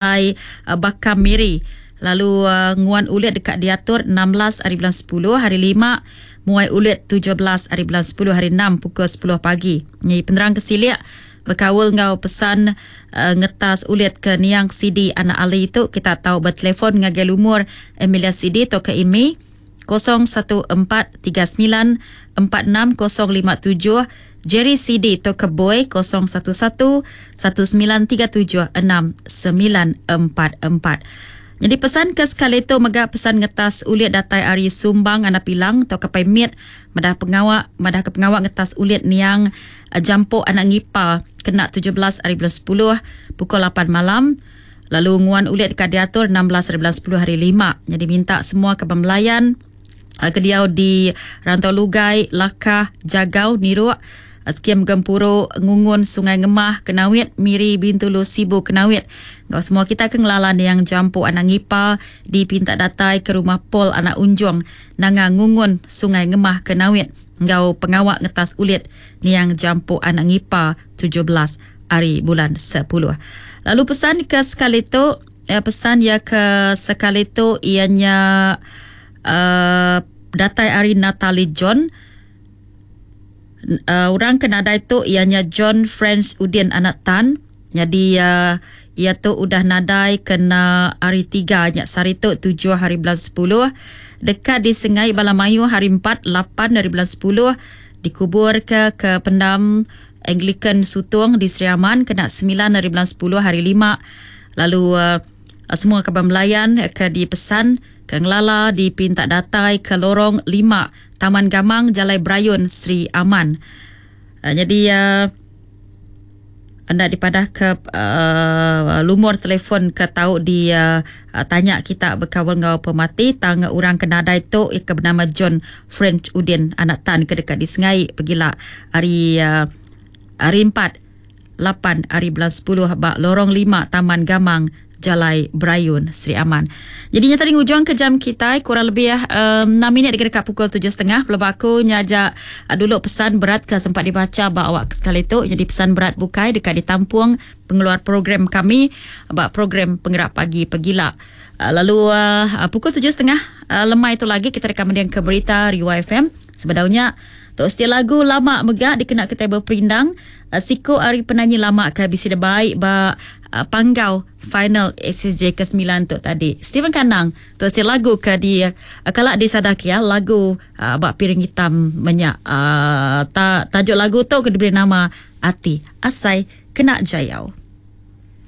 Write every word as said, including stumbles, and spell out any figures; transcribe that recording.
Bakam Miri. Lalu uh, nguan ulit dekat diatur enam belas hari bulan sepuluh hari lima, muai ulit tujuh belas hari bulan sepuluh hari enam pukul sepuluh pagi. Ni penerang kesilik berkaul ngau pesan uh, ngetas ulit ke Niang Sidi Anak Ali itu kita tahu bertelefon ngagai lumur Emilia Sidi atau ke I M I kosong satu empat tiga sembilan empat enam kosong lima tujuh, Jerry Sidi atau ke Boy kosong satu satu satu sembilan tiga tujuh enam sembilan empat empat. Jadi pesan ke sekali tu mega pesan ngetas ulit datai ari Sumbang Anak Pilang atau ke Pemit madah pengawak madah ke pengawak ngetas ulit niang Jampok Anak Ngipa kena tujuh belas hari bulan sepuluh pukul lapan malam. Lalu nguan ulit dekat diatur enam belas hari bulan sepuluh hari lima. Jadi minta semua ke pembelayan ke diau di Rantau Lugai, Lakah, Jagau, Niruk, Skim Gempuru, Ngungun, Sungai Ngemah, Kenawit, Miri, Bintulu, Sibu, Kenawit. Ngau semua kita ke ngelalan yang Jampok Anak Ngipa di Pintak Datai ke rumah Paul Anak Unjung, Nanga Ngungun, Sungai Ngemah, Kenawit. Ngau pengawak ngetas ulit niang Jampok Anak Ngipa tujuh belas hari bulan sepuluh. Lalu pesan ke sekali tu, eh, pesan ya ke sekali tu ianya uh, datai hari Natalie John. Uh, orang kenadai tu ianya John French Udin Anak Tan. Jadi uh, ia tu udah nadai kena hari tiga nyak sehari tu tujuh hari bulan sepuluh. Dekat di Sengai Balamayu hari empat lapan hari bulan sepuluh. Dikubur ke, ke pendam Anglican Sutung di Sri Aman kena sembilan hari bulan sepuluh hari lima. Lalu uh, semua kaban melayan ke dipesan ke Ngelala di Pintak Datai ke Lorong lima Taman Gamang Jalai Brayun Sri Aman. Uh, jadi uh, anda dipadah ke uh, lumur telefon ke tahu di uh, tanya kita berkawal ngau pemati tang orang kenadai tu ke bernama John French Udin Anak Tan ke dekat di Sengai pergilah hari uh, hari empat lapan hari bulan sepuluh bak Lorong lima Taman Gamang Jalai Brayun Sri Aman. Jadinya tadi ngujung ke jam kita kurang lebih um, enam minit dekat pukul tujuh setengah. Belum aku nyajak uh, dulu pesan berat ke sempat dibaca bak awak sekali tu. Jadi pesan berat bukai dekat ditampung pengeluar program kami bak program penggerak pagi pegila. Uh, lalu uh, pukul tujuh setengah uh, lemai itu lagi kita rekam mendiang ke berita Riwa F M. Sebenarnya tok setia lagu lama megak dikena kita berperindang uh, siko ari penyanyi lama ke bisi de baik ba uh, panggau final S S J ke sembilan tu tadi. Stephen Kanang tok setia lagu ke di uh, kalak di Sadakia lagu uh, bak piring hitam menyak uh, ta, tajuk lagu tu ke diberi nama Ati Asai Kena Jayau.